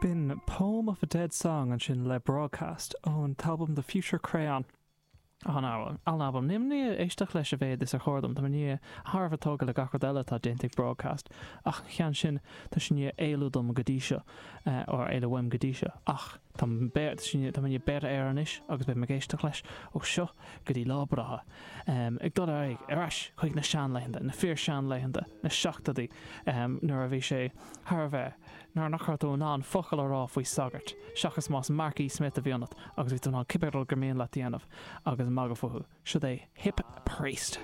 B'in Poem of a Dead Song ansin le Broadcast ón t-albam The Future Crayon. An-albam. Nílim i ndiaidh éisteacht leis a mhéad is ar chóir dom. Tá mé i ndiaidh thar a bheith tógtha le gach rud eile atá déanta ag Broadcast ach an ceann sin tá sé i ndiaidh éalú dom go dtí seo, or éalú uaim go dtí seo. Ach tá mé i ndiaidh beirthe air anois agus beidh mé ag éisteacht leis ó seo go dtí lá breithe. Ag dul ar aghaidh ar ais chuig na seanlaethanta, na fíor-seanlaethanta, na seachtóidí, nuair a bhí sé thar a bheith, nuair nach raibh tú in ann focal a rá faoi sagart, seachas más Mark E. Smith a bhí ionat agus bhí tú in ann cibé rud gur mian leat a dhéanamh agus magadh fúthu. Siod é Hip Priest.